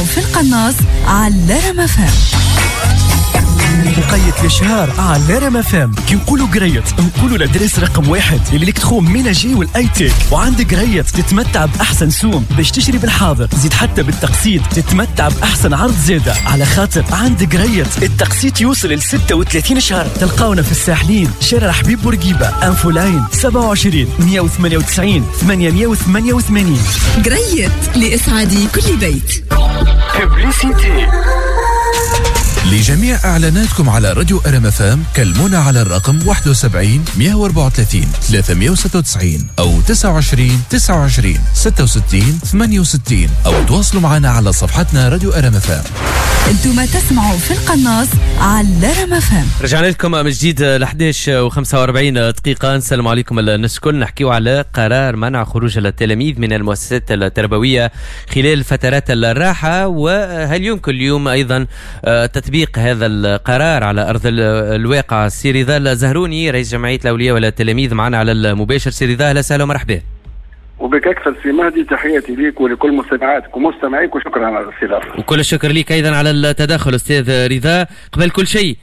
تسمعوا في القناص على رام FM. وقيت الاشهار على رام FM. كي نقولوا قريت نقولوا l'adresse رقم 1 l'électroménager وال high-tech، وعند قريت تتمتع باحسن سوم باش تشري بالحاضر، زيد حتى بالتقسيط تتمتع باحسن عرض زاده، على خاطر عند قريت التقسيط يوصل ل 36 شهر. تلقاونا في الساحلين، شارع حبيب بورقيبة، infoline 27 198 888. قريت لاسعاد كل بيت. Publicité. لجميع إعلاناتكم على راديو ار ام اف ام كلمونا على الرقم 71 134 396 أو 29 29 66 68، أو تواصلوا معنا على صفحتنا راديو ار ام اف ام. انتم تسمعوا في القناص على رام FM. رجعنا لكم من جديد ل 11:45. نسلم عليكم الناس الكل. نحكيو على قرار منع خروج التلاميذ من المؤسسات التربوية خلال فترات الراحة، وهل يمكن اليوم أيضا تطبيق هذا القرار على أرض الواقع؟ سي رضا الزهروني رئيس جمعية الأولياء والتلاميذ معنا على المباشر. سي رضا، أهلا وسهلا ومرحبا. وبك أكثر سي مهدي، تحياتي ليك ولكل مستمعاتك ومستمعيك، وشكرا على الاستضافة. وكل الشكر لك أيضا على التدخل أستاذ رضا. قبل كل شيء،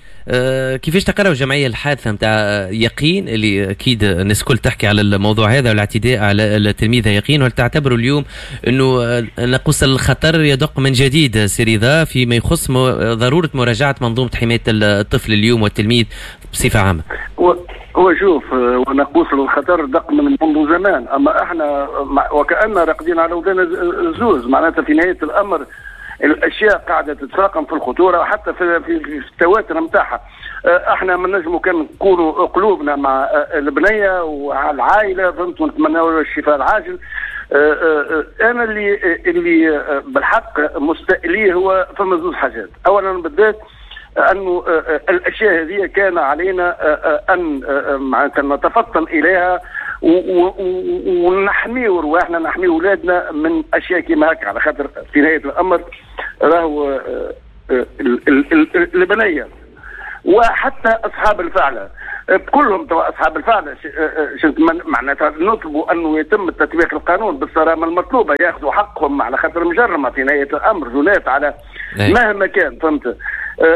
كيفاش تقرأوا جمعية الحادثة نتاع يقين اللي أكيد الناس الكل تحكي على الموضوع هذا والاعتداء على التلميذة يقين، وهل تعتبروا اليوم أنه ناقوس الخطر يدق من جديد سي رضا فيما يخص ضرورة مراجعة منظومة حماية الطفل اليوم والتلميذ بصفة عامة؟ هو شوف، وناقوس الخطر دق من منذ زمان، أما احنا وكأننا راقدين على ودان الزوز. معناتها في نهاية الأمر الأشياء قاعدة تتفاقم في الخطورة وحتى في التواتر نتاعها. احنا ما نجموا كان نكونوا قلوبنا مع البنية وعلى العائلة، فهمت، ونتمنوا الشفاء العاجل. انا اللي بالحق مستقليه هو فما زوج حاجات. اولا بالذات انه الاشياء هذه كان علينا ان معناتها نتفطن اليها ونحميو رواحنا، نحميو اولادنا من اشياء كيما هكا، على خاطر في نهاية الامر راهو البنية وحتى اصحاب الفعلة كلهم اصحاب الفعلة معناتها نطلبوا انه يتم تطبيق القانون بالصرامه المطلوبة، ياخذوا حقهم على خاطر مجرمه في نهاية الامر، جنات على مهما كان، فهمت.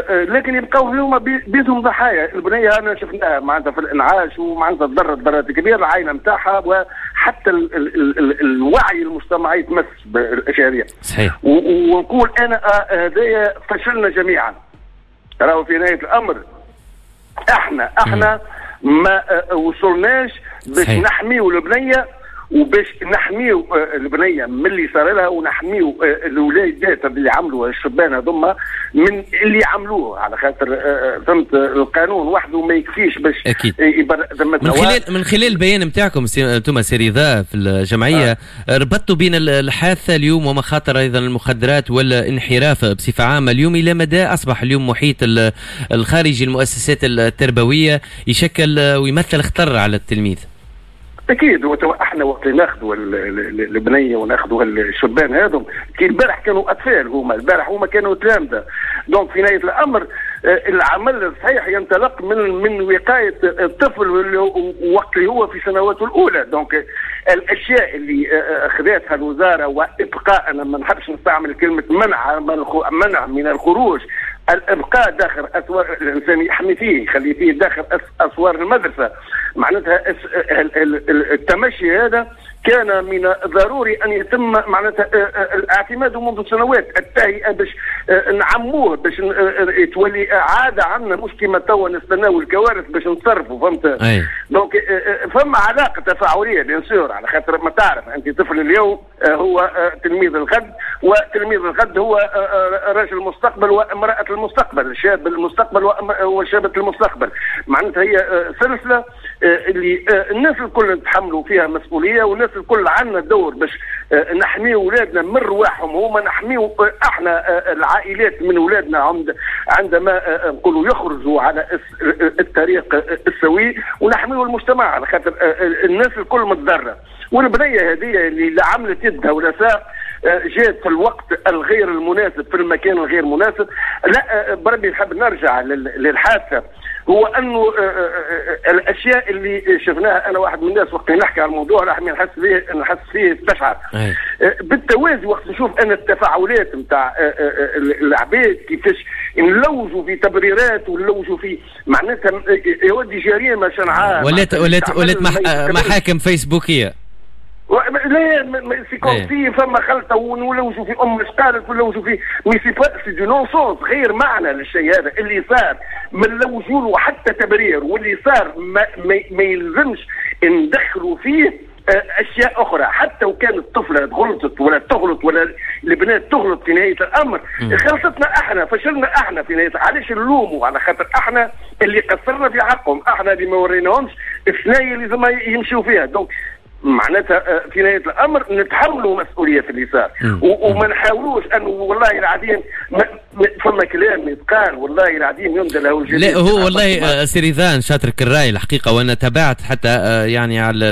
لكن يبقاو هما بيدهم ضحايا. البنية انا شفناها معناتها في الانعاش، ومعناتها تضرت ضررات كبيرة العائلة نتاعها، وحتى ال ال ال الوعي المجتمعي تمس بالاشياء هذه. صحيح. ونقول انا هذايا فشلنا جميعا. راهو في نهاية الامر احنا ما وصلناش باش نحميو البنية، وباش نحميو البنية من اللي صار لها، ونحميو الولادات اللي عملوا الشبان هذوما من اللي عملوه، على خاطر فهمت القانون وحده ما يكفيش باش من خلال البيان نتاعكم انتم سي رضا في الجمعية ربطتوا بين الحادثة اليوم ومخاطر ايضا المخدرات والانحراف بصفة عامة اليوم. الى مدى اصبح اليوم محيط الخارجي المؤسسات التربوية يشكل ويمثل خطر على التلميذ؟ اكيد. احنا وقت ناخذوا البنية وناخذوا الشبان هذم، كي البارح كانوا اطفال، هما البارح هما كانوا تلامذه. donc في نهاية الامر العمل الصحيح ينطلق من وقاية الطفل وقت اللي هو في سنواته الاولى. donc الاشياء اللي اخذتها الوزارة وابقاء، انا ما نحبش نستعمل كلمة منع من الخروج، الابقاء داخل اسوار، الانسان يحمي فيه، يخلي فيه داخل اسوار المدرسة، معناتها التمشي هذا كان من الضروري ان يتم معناتها الاعتماد منذ سنوات، التهيئه باش نعموه، باش تولي عادة عندنا، مش كيما توا نستناو الكوارث باش نتصرفوا، فهمت؟ donc فما علاقة تفاعلية bien sûr، على خاطر ما تعرف انت طفل اليوم هو تلميذ الغد، وتلميذ الغد هو رجل المستقبل وامراة المستقبل، شاب المستقبل وشابه المستقبل. معناتها هي سلسلة اللي الناس الكل نتحملوا فيها مسؤولية، والناس الكل عندنا دور باش نحميو اولادنا من رواحهم هما، نحميو احنا العائلات من اولادنا عندما نقولوا يخرجوا على الطريق السوي، ونحميو المجتمع على خاطر الناس الكل متضرره. والبنية هذه اللي لا عملت يدها ولا ساق، جات في الوقت الغير المناسب في المكان الغير مناسب. لا بربي نحب نرجع للحادثه، هو انه الاشياء اللي شفناها، انا واحد من الناس وقت نحكي على الموضوع راح نحس فيه استشعر بالتوازي وقت نشوف انا التفاعلات نتاع العباد كيفاش نلوجوا في تبريرات ونلوجوا في معناتها يودي جريمة شنعاء، ولات محاكم فيسبوكيه. لا c'est comme si فما خلطه ونلوجوا في ام اش قالت ونلوجوا في mais c'est du non-sens، غير معنى للشيء هذا اللي صار، ما نلوجوا له حتى تبرير، واللي صار ما يلزمش ندخلوا فيه اشياء اخرى، حتى وكان الطفلة غلطت ولا تغلط ولا البنات تغلط في نهاية الامر، غلطتنا احنا، فشلنا احنا في نهاية. علاش نلوموا؟ على خاطر احنا اللي قصرنا في حقهم، احنا اللي ما وريناهمش الثنايا اللي لازم يمشيوا فيها. donc معناتها في نهاية الامر نتحملوا مسؤولية في اللي صار، وما نحاولوش انه والله العظيم فما كلام يتقال والله العظيم يندى له الجديد. لا هو والله سي رضا شاطرك الراي الحقيقة، وانا تابعت حتى يعني على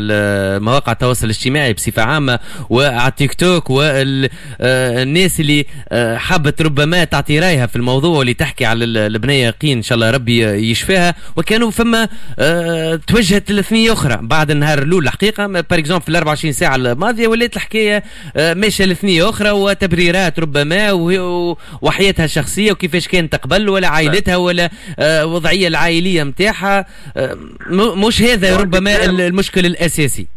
مواقع التواصل الاجتماعي بصفة عامة وعلى تيك توك، والناس اللي حابت ربما تعطي رايها في الموضوع واللي تحكي على البنية يقين ان شاء الله ربي يشفيها، وكانوا فما توجهت لثنيه اخرى بعد النهار الاول الحقيقة، par exemple في 24 ساعة الماضية ولات الحكاية ماشية لثنيه اخرى وتبريرات ربما وحياتها الشخصية وكيفاش كانت تقبل ولا عائلتها ولا وضعية العائلية نتاعها، مش هذا ربما المشكل الاساسي.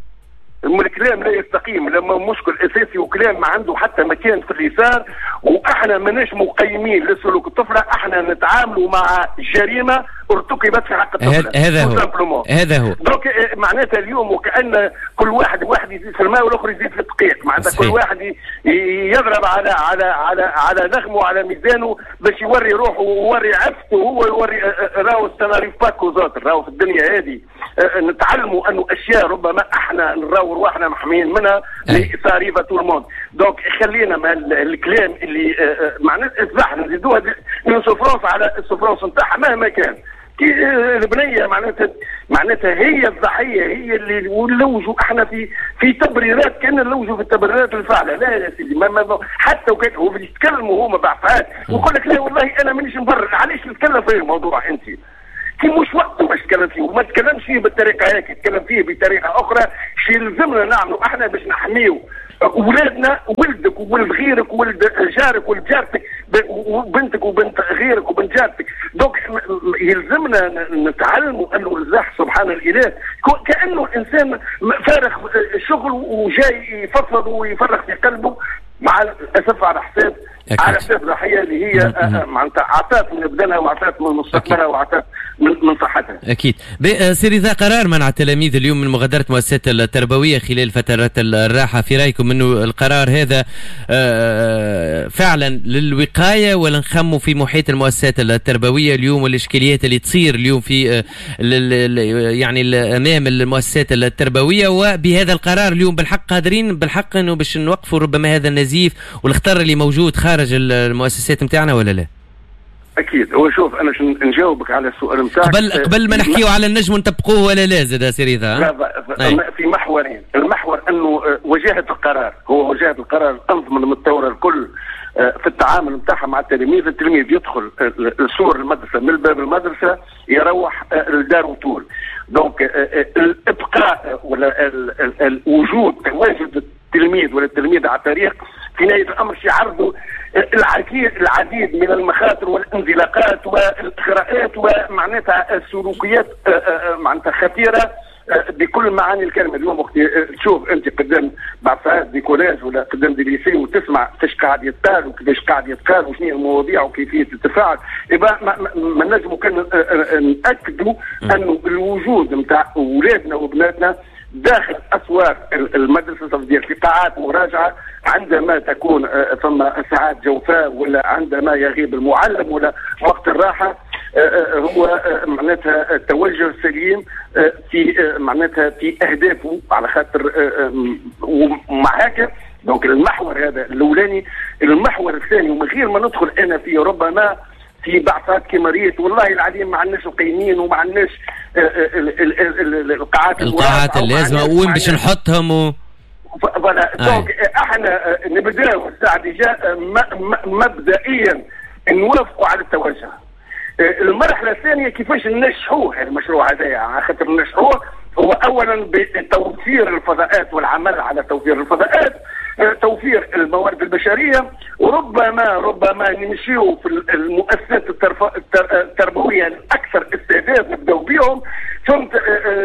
الكلام لا يستقيم لما مشكل اساسي وكلام ما عنده حتى مكان في اليسار، واحنا ماناش مقيمين لسلوك الطفلة، احنا نتعاملوا مع جريمة ارتكبت في حق الطفلة. هذا هو هذا هو. donc معناتها اليوم وكأن كل واحد يزيد في الماء والاخر يزيد في الدقيق، معناتها كل واحد يضرب على على على على نغمة وعلى ميزانه باش يوري روحه ويوري عفته وهو يوري راهو ça n'arrive pas qu'aux autres. راهو في الدنيا هذه نتعلموا انه اشياء ربما احنا نراو رواحنا محميين منها ça arrive à tout le monde. donc خلينا مع الكلام اللي معناتها اصبح نزيدوها من souffrance على ال souffrance نتاعها مهما كان. كي البنية معناتها هي الضحية، هي اللي ونلوجوا احنا في تبريرات، كان نلوجوا في التبريرات الفاعلة. لا يا سيدي، ما حتى وكان هو يتكلموا هما بعفات ويقول لك لا والله انا مانيش مبرر. علاش تتكلم في الموضوع انت؟ كي مش وقته باش تتكلم فيه، وما تتكلمش فيه بالطريقة هيك، تتكلم فيه بطريقة اخرى. شي يلزمنا نعملوا احنا باش نحميو اولادنا، ولدك وولد غيرك وولد جارك وولد جارتك وبنتك وبنت غيرك وبنت جارتك. donc يلزمنا نتعلموا انه الزح سبحان الاله كانه الانسان فارغ شغل وجاي يفضفض ويفرغ في قلبه، مع الاسف على حساب على حساب الضحية اللي هي معناتها عطات من بدنها وعطات من مستقبلها وعطات من صحتها. اكيد. سي رضا، قرار منع التلاميذ اليوم من مغادرة المؤسسات التربوية خلال فترات الراحة، في رايكم انه القرار هذا فعلا للوقايه ولا نخموا في محيط المؤسسات التربوية اليوم والاشكاليات اللي تصير اليوم في يعني امام المؤسسات التربوية؟ وبهذا القرار اليوم بالحق قادرين بالحق انه باش نوقفوا ربما هذا النزيف والخطر اللي موجود خارج المؤسسات نتاعنا ولا لا؟ اكيد. هو شوف، انا نجاوبك على السؤال نتاعك قبل ما نحكيو على النجم نطبقوه ولا لا زاد سي رضا. في محورين، المحور انه وجاهه القرار، هو وجاهه القرار الانظمة المتطورة الكل في التعامل نتاعها مع التلاميذ. التلميذ يدخل السور المدرسة من باب المدرسة يروح لداره طول. donc الابقاء ولا الوجود تواجد التلميذ ولا التلميذ على الطريق في نهاية الامر يعرضوا العديد من المخاطر والانزلاقات والاغراءات ومعناتها السلوكيات معناتها خطيرة بكل معاني الكلمة. اليوم وقت تشوف انت قدام بعض ساعات des collèges ولا قدام des lycées وتسمع فاش قاعد يتقال وكيفاش قاعد يتقال وشنو هي المواضيع وكيفية التفاعل، يبقى ما نجموا كان ناكدوا انه الوجود نتاع اولادنا وبناتنا داخل اسوار المدرسة في قاعات مراجعه عندما تكون ثم ساعات جوفاء ولا عندما يغيب المعلم ولا وقت الراحة، هو معناتها التوجه السليم في معناتها في اهدافه على خاطر ومع هكا. donc المحور هذا الاولاني. المحور الثاني، ومن غير ما ندخل انا في ربما في بعثات كما ريت والله العظيم ما عندناش القيمين وما عندناش القاعات اللازمة وين باش نحطهم voilà، donc احنا نبداو الساعة déjà مبدئيا نوافقوا على التوجه. المرحلة الثانية كيفاش ننجحوه المشروع هذايا، على خاطر ننجحوه هو اولا بتوفير الفضاءات والعمل على توفير الفضاءات، توفير الموارد البشريه، وربما نمشيو في المؤسسات التربوية الاكثر استعداد نبداو بهم، ثم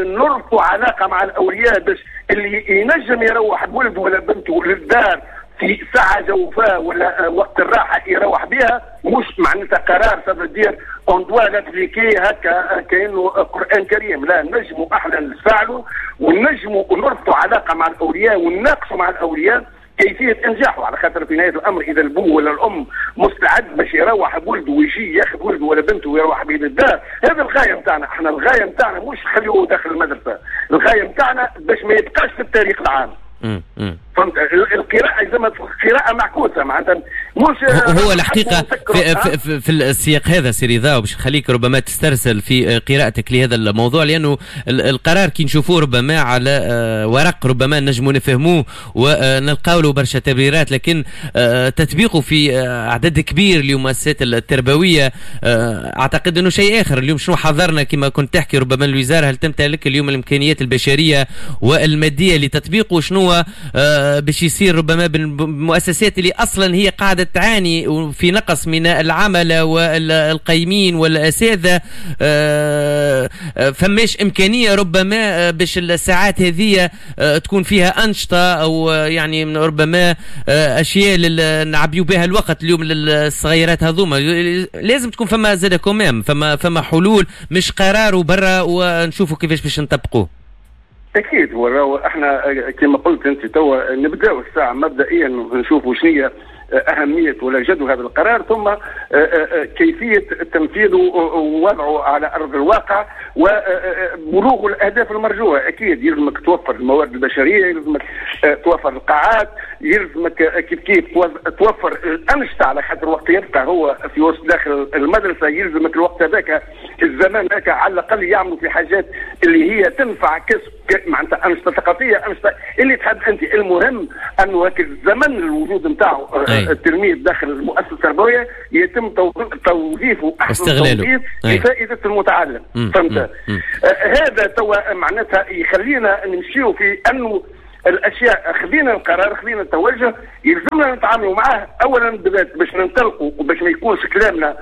نربطوا علاقة مع الاولياء باش اللي ينجم يروح بولده ولا بنته للدار في ساعة جوفاء ولا وقت الراحة يروح بها، مش معناتها قرار ça veut dire on doit l'appliquer هكا كانه قران كريم، لا، نجموا احنا نفعلوا ونجموا نربطوا علاقة مع الاولياء ونناقشوا مع الاولياء كيفية انجاحه، على خاطر في نهاية الامر اذا البو ولا الام مستعد باش يروح بولده ويجي ياخذ ولده ولا بنته ويروح به للدار، هذا الغاية نتاعنا. احنا الغاية نتاعنا مش خليه داخل المدرسه، الغاية نتاعنا باش ما يبقاش في الطريق العام. فهمت؟ القراءة زي ما قراءة معكوسة معناتها مش هو الحقيقة في السياق هذا سي رضا، باش نخليك ربما تسترسل في قراءتك لهذا الموضوع، لأنه القرار كي نشوفوه ربما على ورق ربما نجموا نفهموه ونلقاو له برشا تبريرات، لكن تطبيقه في أعداد كبير للمؤسسات التربوية أعتقد أنه شيء آخر. اليوم شنو حضرنا كما كنت تحكي، ربما الوزارة هل تمتلك اليوم الإمكانيات البشرية والمادية لتطبيقه؟ شنو باش يصير ربما بالمؤسسات اللي اصلا هي قاعدة تعاني في نقص من العملة والقيمين والاساتذه؟ فماش امكانية ربما باش الساعات هذه تكون فيها انشطة او يعني ربما اشياء نعبيو بها الوقت اليوم للصغيرات هذوما؟ لازم تكون فما زاد quand même فما حلول، مش قرار وبرا ونشوفوا كيفاش باش نطبقوه. اكيد، وراو احنا كما قلت انت توا نبداو الساعة مبدئيا نشوفوا شنو اهمية ولا جدوى هذا القرار، ثم كيفية تنفيذه ووضعه على ارض الواقع وبلوغ الاهداف المرجوه. اكيد يلزمك توفر الموارد البشريه، يلزمك توفر القاعات، يلزمك كيف كيف توفر الانشطه، على خاطر وقت يبقى هو في وسط داخل المدرسة يلزمك الوقت هذاك الزمان هذاك على الاقل يعملوا في حاجات اللي هي تنفع، كسب معناتها انشطة ثقافيه، انشطة اللي تحب انت، المهم انه هيك الزمن الوجود نتاعو التلميذ داخل المؤسسة التربوية يتم توظيفه احسن توظيف لفائدة المتعلم. فهمت؟ هذا توا معناتها يخلينا نمشيو في انه الاشياء، خذينا القرار، خذينا التوجه، يلزمنا نتعاملوا معاه اولا بالذات باش ننطلقوا وباش ما يكونش كلامنا